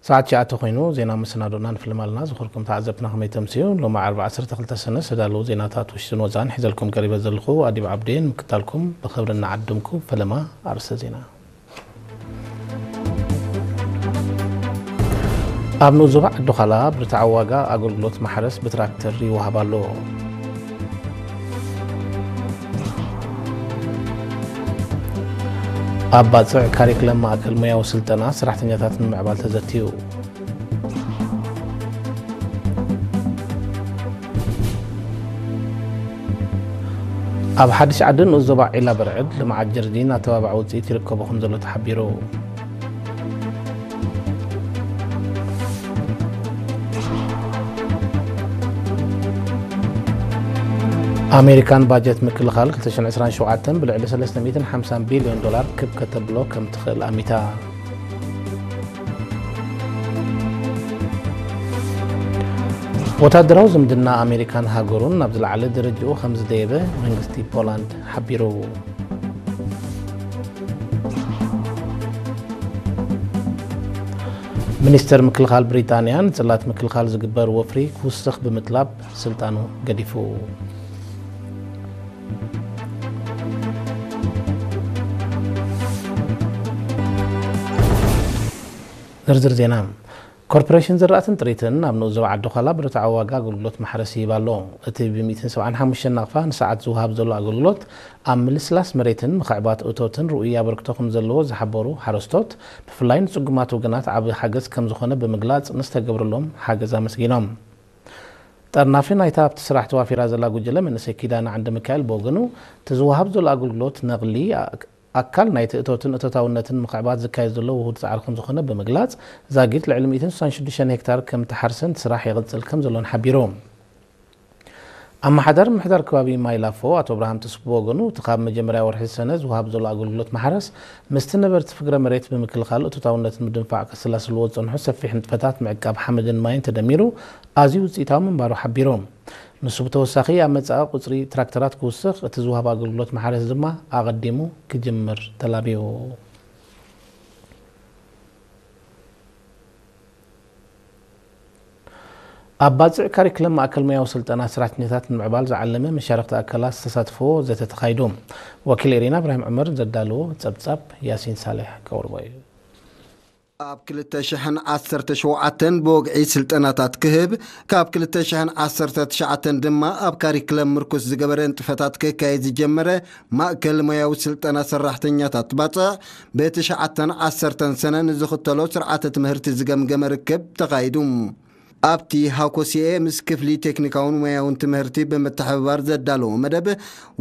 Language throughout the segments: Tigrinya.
ሰዓት ትሽዓተ ኮይኑ ዜና መሰናዶና ንፍልም ኣለና። ዝኸበርኩም ተዓዘብትና ከመይ ተምስዩ? ሎሚ ዓርቢ ዓሰርተ ክልተ ሰነ ዝተዳለዉ ዜናታት ውሽጥን ወፃእን ሒዘልኩም ቀሪበ ዘለኹ ኣዲብ ዓብዴን። ምክታልኩም ብኽብሪ እናዓደምኩ ፈለማ ኣርእስተ ዜና። ኣብ ንኡስ ዞባ ዓዲ ዃላ ብርትዓዊ ዋጋ ኣገልግሎት ማሕረስ ብትራክተር ይወሃብ ኣሎ። ኣብ ባጽዕ ካሪክለም ማእከል ሞያዊ ስልጠና ሰራሕተኛታት ንምዕባል ተዘትዩ። ኣብ ሓድሽ ዓዲ ንኡስ ዞባ ዒላ በርዕድ ልምዓት ጀርዲን ኣተባባዒ ውፅኢት ይርከቦ ከም ዘሎ ተሓቢሩ። ኣሜሪካን ባጀት ምክልኻል ክልተ ሽሕን ዕስራን ሸውዓተን ብልዕሊ ሰለስተ ሚእትን ሓምሳን ቢልዮን ዶላር ክብ ከተብሎ ከም ትኽእል ኣሚታ። ወታደራዊ ዝምድና ኣሜሪካን ሃገሩን ናብ ዝለዓለ ደረጃኡ ከም ዝደየበ መንግስቲ ፖላንድ ሓቢሩ። ሚኒስተር ምክልኻል ብሪጣንያ ንጽላት ምክልኻል ዝግበር ወፍሪ ክውስኽ ብምጥላብ ስልጣኑ ገዲፉ። ዝርዝር ዜና። ኮርፖሬሽን ዝራእትን ጥሪትን ኣብ ንኡስ ዞባ ዓዲ ዃላ ብርትዓዊ ዋጋ ኣገልግሎት ማሕረስ ይህብ ኣሎ። እቲ ብ ሚእትን ሰብዓን ሓሙሽተን ናቕፋ ንሰዓት ዝወሃብ ዘሎ ኣገልግሎት ኣብ ምልስላስ መሬትን ምኽዕባት እቶትን ርኡይ ኣበርክቶ ከም ዘለዎ ዝሓበሩ ሓረስቶት፣ ብፍላይ ንጽጉማት ወገናት ዓቢ ሓገዝ ከም ዝኾነ ብምግላጽ ንዝተገብረሎም ሓገዝ ኣመስጊኖም። ጠርናፊ ናይታ ኣብቲ ስራሕ ተዋፊራ ዘላ ጉጅለ መንእሰይ ኪዳነ ዓንደ ሚካኤል ብወገኑ፣ እቲ ዝወሃብ ዘሎ ኣገልግሎት ነቕሊ ኣካል ናይቲ እቶትን እቶታውነትን ምኽዕባት ዝካየድ ዘሎ ውሁድ ጻዕሪ ከም ዝኾነ ብምግላጽ፣ ዛጊት ልዕሊ ሚእትን ስሳን ሽዱሽተን ሄክታር ከም ትሓርስን እቲ ስራሕ ይቕጽል ከም ዘሎን ሓቢሩ። ኣመሓዳሪ ምምሕዳር ከባቢ ማይ ላፎ ኣቶ ኣብርሃም ተስፉ ብወገኑ፣ እቲ ካብ መጀመርያ ወርሒ ሰነ ዝወሃብ ዘሎ ኣገልግሎት ማሕረስ ምስቲ ነበርቲ ፍግረ መሬት ብምክልኻል እቶታውነትን ምድንፋዕ ከሰላስልዎ ዝጸንሑ ሰፊሕ ንጥፈታት ምዕቃብ ሓመድን ማይን ተደሚሩ ኣዝዩ ውጽኢታዊ ምንባሩ ሓቢሩ። ንሱ ብተወሳኺ ኣብ መጻኢ ቁጽሪ ትራክተራት ክውስኽ፣ እቲ ዝወሃብ ኣገልግሎት ማሕረስ ድማ ኣቐዲሙ ክጅምር ተላብዩ። ኣብ ባጽዕ ካሪክለም ማእከል ሞያዊ ስልጠና ሰራሕተኛታት ንምዕባል ዝዓለመ መሻርኽቲ ኣካላት ዝተሳትፍዎ ዘተ ተኻይዱ። ወኪል ኤሪና እብራሂም ዑመር ዘዳለዎ ጸብጻብ ያሲን ሳልሕ ከቕርቦ እዩ። ኣብ ክልተ ሽሕን ዓሰርተ ሸውዓተን ብወግዒ ስልጠናታት ክህብ፣ ካብ ክልተ ሽሕን ዓሰርተ ትሽዓተን ድማ ኣብ ካሪክለም ምርኩስ ዝገበረ ንጥፈታት ክካየድ ዝጀመረ ማእከል ሞያዊ ስልጠና ሰራሕተኛታት ባጽዕ፣ ብትሽዓተን ዓሰርተን ሰነ ንዝኽተሎ ስርዓተ ትምህርቲ ዝገምገመ ርክብ ተኻይዱ። ኣብቲ ሃኮሲኤ ምስ ክፍሊ ቴክኒካውን ሞያውን ትምህርቲ ብምትሕብባር ዘዳለዎ መደብ፣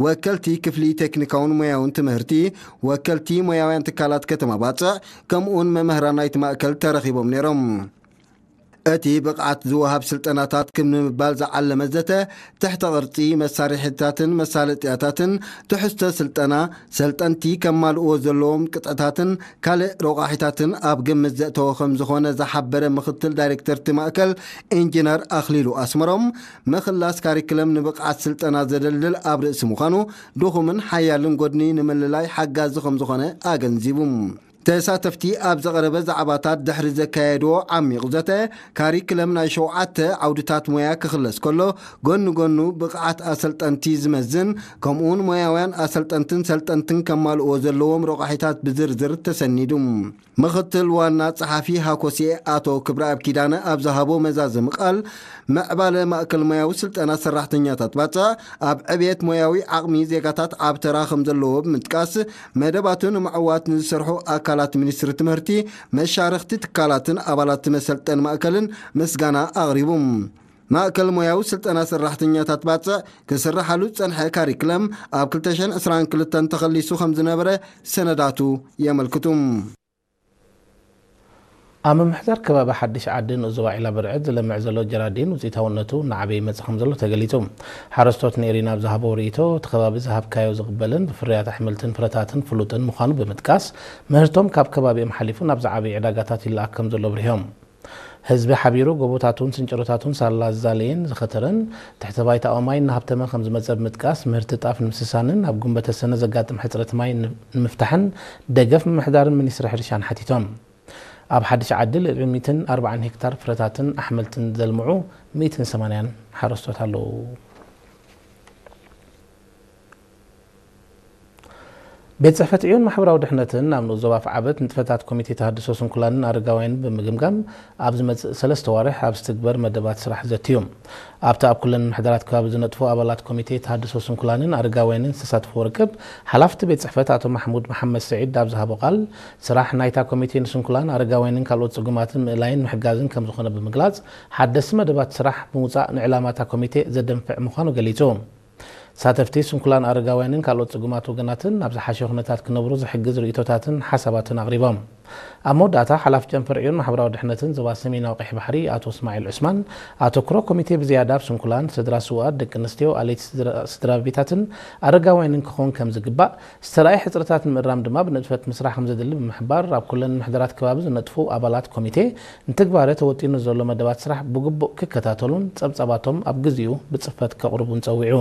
ወከልቲ ክፍሊ ቴክኒካውን ሞያውን ትምህርቲ፣ ወከልቲ ሞያውያን ትካላት ከተማ ባጽዕ፣ ከምኡውን መምህራን ናይቲ ማእከል ተረኺቦም ነይሮም። እቲ ብቕዓት ዝወሃብ ስልጠናታት ክብ ንምባል ዝዓለመ ዘተ፣ ትሕተ ቅርጺ፣ መሳርሒታትን መሳለጥያታትን፣ ትሕዝቶ ስልጠና፣ ሰልጠንቲ ከማልእዎ ዘለዎም ቅጥዕታትን ካልእ ረቋሒታትን ኣብ ግምት ዘእተወ ከም ዝኾነ ዝሓበረ ምኽትል ዳይሬክተር እቲ ማእከል ኢንጂነር ኣኽሊሉ ኣስመሮም፣ ምኽላስ ካሪክለም ንብቕዓት ስልጠና ዘደልድል ኣብ ርእሲ ምዃኑ፣ ድኹምን ሓያልን ጎድኒ ንምልላይ ሓጋዚ ከም ዝኾነ ኣገንዚቡ። ተሳተፍቲ ኣብ ዝቐረበ ዛዕባታት ድሕሪ ዘካየድዎ ዓሚቕ ዘተ፣ ካሪክለም ናይ ሸውዓተ ዓውድታት ሞያ ክኽለስ ከሎ፣ ጎኒ ጎኑ ብቕዓት ኣሰልጠንቲ ዝመዝን፣ ከምኡውን ሞያውያን ኣሰልጠንትን ሰልጠንትን ከማልእዎ ዘለዎም ረቋሒታት ብዝርዝር ተሰኒዱ። ምኽትል ዋና ጸሓፊ ሃኮሲኤ ኣቶ ክብረኣብ ኪዳነ ኣብ ዝሃቦ መዛዘሚ ቃል፣ ምዕባለ ማእከል ሞያዊ ስልጠና ሰራሕተኛታት ባጽዕ ኣብ ዕብየት ሞያዊ ዓቕሚ ዜጋታት ዓቢ ተራ ከም ዘለዎ ብምጥቃስ፣ መደባቱ ንምዕዋት ንዝሰርሑ ኣካላት ሚኒስትሪ ትምህርቲ፣ መሻርኽቲ ትካላትን ኣባላት መሰልጠኒ ማእከልን ምስጋና ኣቕሪቡ። ማእከል ሞያዊ ስልጠና ሰራሕተኛታት ባጽዕ ክስርሓሉ ዝጸንሐ ካሪክለም ኣብ ክልተ ሽሕን ዕስራን ክልተን ተኸሊሱ ከም ዝነበረ ሰነዳቱ የመልክቱ። ኣብ ምምሕዳር ከባቢ ሓድሽ ዓዲ ንኡስ ዞባ ዒላ በርዕድ ዝለምዕ ዘሎ ጀራዲን ውፅኢታውነቱ እናዓበየ ይመፅእ ከም ዘሎ ተገሊፁ። ሓረስቶት ንኤሪና ኣብ ዝሃበዎ ርእይቶ፣ እቲ ከባቢ ዝሃብካዮ ዝቕበልን ብፍርያት ኣሕምልትን ፍረታትን ፍሉጥን ምዃኑ ብምጥቃስ፣ ምህርቶም ካብ ከባቢኦም ሓሊፉ ናብ ዝዓበዩ ዕዳጋታት ይለኣኽ ከም ዘሎ ኣብሪሆም። ህዝቢ ሓቢሩ ጎቦታቱን ስንጭሮታቱን ሳላ ዝዛለየን ዝኸተረን፣ ትሕተ ባይታ ማይ እናሃብተመ ከም ዝመፀ ብምጥቃስ፣ ምህርቲ ጣፍ ንምስሳንን ኣብ ጉንበተ ሰነ ዘጋጥም ሕፅረት ማይ ንምፍታሕን ደገፍ ምምሕዳርን ሚኒስትሪ ሕርሻን ሓቲቶም። ኣብ ሓድሽ ዓዲ ልዕሊ ሚእትን ኣርባዓን ሄክታር ፍረታትን ኣሕምልትን ዘልምዑ ሚእትን ሰማንያን ሓረስቶት ኣለዉ። ቤት ጽሕፈት ዕዮን ማሕበራዊ ድሕነትን ኣብ ንኡስ ዞባ ኣፍዓበት ንጥፈታት ኮሚቴ ተሃድሶ ስንኩላንን ኣረጋውያንን ብምግምጋም ኣብ ዝመጽእ ሰለስተ ዋርሕ ኣብ ዝትግበር መደባት ስራሕ ዘትዩ። ኣብቲ ኣብ ኩለን ምሕደራት ከባቢ ዝነጥፉ ኣባላት ኮሚቴ ተሃድሶ ስንኩላንን ኣረጋውያንን ዝተሳተፍዎ ርክብ፣ ሓላፍቲ ቤት ጽሕፈት ኣቶ ማሕሙድ መሓመድ ስዒድ ኣብ ዝሃቦ ቃል፣ ስራሕ ናይታ ኮሚቴ ንስንኩላን ኣረጋውያንን ካልኦት ጽጉማትን ምእላይን ምሕጋዝን ከም ዝኾነ ብምግላጽ፣ ሓደስቲ መደባት ስራሕ ብምውጻእ ንዕላማታ ኮሚቴ ዘደንፍዕ ምዃኑ ገሊጹ። ተሳተፍቲ ስንኩላን ኣረጋውያንን ካልኦት ጽጉማት ወገናትን ናብ ዝሓሸ ኩነታት ክነብሩ ዝሕግዝ ርእይቶታትን ሓሳባትን ኣቕሪቦም። ኣብ መወዳእታ ሓላፊ ጨንፈር ዕዮን ማሕበራዊ ድሕነትን ዞባ ሰሜናዊ ቀይሕ ባሕሪ ኣቶ እስማዒል ዑስማን፣ ኣተኩሮ ኮሚቴ ብዝያዳ ኣብ ስንኩላን፣ ስድራ ስውኣት፣ ደቂ ኣንስትዮ፣ ኣለይቲ ስድራ ቤታትን ኣረጋውያንን ክኸውን ከም ዝግባእ፣ ዝተራእየ ሕጽረታት ንምእራም ድማ ብንጥፈት ምስራሕ ከም ዘድሊ ብምሕባር፣ ኣብ ኩለን ምሕደራት ከባቢ ዝነጥፉ ኣባላት ኮሚቴ ንትግባረ ተወጢኑ ዘሎ መደባት ስራሕ ብግቡእ ክከታተሉን ጸብጻባቶም ኣብ ግዚኡ ብጽፈት ከቕርቡን ጸዊዑ።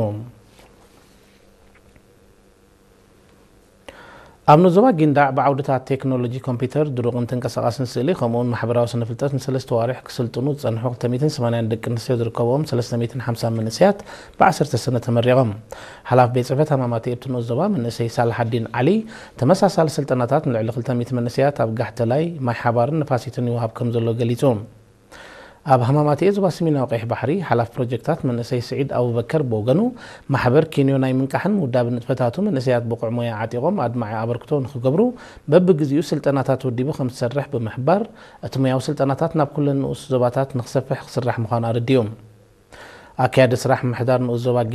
ኣብ ንኡስ ዞባ ጊንዳዕ ብዓውድታት ቴክኖሎጂ ኮምፒውተር፣ ድሩቕን ተንቀሳቓስን ስእሊ ከምኡውን ማሕበራዊ ስነ ፍልጠት ንሰለስተ ዋርሕ ክስልጥኑ ዝጸንሑ ክልተ ሚእትን ሰማንያን ደቂ ኣንስትዮ ዝርከብዎም ሰለስተ ሚእትን ሓምሳን መንእሰያት ብዓሰርተ ሰነ ተመሪቖም። ሓላፊ ቤት ጽሕፈት ሃማማት ኣብቲ ንኡስ ዞባ መንእሰይ ሳልሓዲን ዓሊ፣ ተመሳሳሊ ስልጠናታት ንልዕሊ ክልተ ሚእቲ መንእሰያት ኣብ ጋሕተላይ፣ ማይ ሓባርን ንፋሲትን ይወሃብ ከም ዘሎ ገሊጹ። ኣብ ሃማማትኤ ዞባ ሰሜናዊ ቀይሕ ባሕሪ ሓላፊ ፕሮጀክታት መንእሰይ ስዒድ ኣቡበከር ብወገኑ፣ ማሕበር ኬንዮ ናይ ምንቃሕን ምውዳብን ንጥፈታቱ መንእሰያት ብቑዕ ሞያ ዓጢቖም ኣድማዒ ኣበርክቶ ንኽገብሩ በብግዚኡ ስልጠናታት ወዲቡ ከም ዝሰርሕ ብምሕባር፣ እቲ ሞያዊ ስልጠናታት ናብ ኩለን ንኡስ ዞባታት ንኽሰፍሕ ክስራሕ ምዃኑ ኣረዲኡ። ኣካያዲ ስራሕ ምምሕዳር ንኡስ ዞባ